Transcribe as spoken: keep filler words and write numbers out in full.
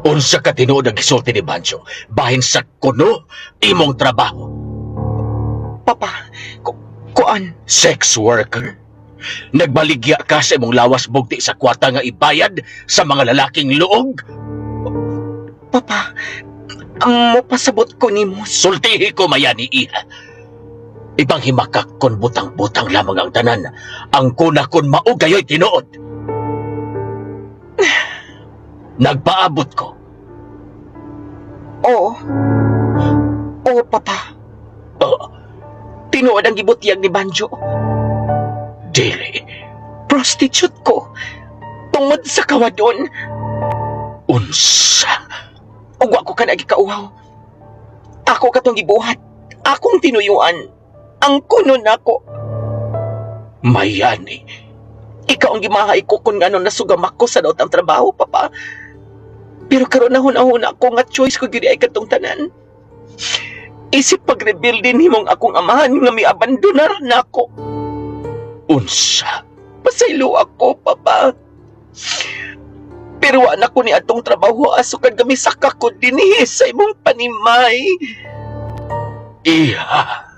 Unsa ka tinuod ang gisulti ni Banjo bahin sa kuno imong trabaho? Papa, ku kuan, Sex worker? Nagbaligya ka sa imong lawas bugti sa kwarta nga ibayad sa mga lalaking luog? Papa, ang mopasabot ko nimo. Sultihi ko, Mayani, iha. Ibang himakak kon butang-butang lamang ang tanan. Ang kuna kon mao gayoy tinuod. Nagpaabot ko. Oo. Oo, Papa. Oh, Tinuod ang gibutyag ni Banjo. Dili. Prostitute ko. Tungod sa kawadon. Unsa? Ug wa ko ka nagikauhaw. Ako katong gibuhat. Akong tinuyuan. Ang kuno nako. Mayani. Ikaw ang gimahay ko kung ngano nasugam ako sa daot ang trabaho, Papa. Pero karon na huna-huna ko nga choice ko gyud ay katong tanan. Isip pag-rebuild din himong akong amahan nga miabandonar nako. Unsa? Pasaylo ako, Papa. Pero wa na ko ni atong trabaho asukad kami saka ko dinhi sa imong panimay. Iha.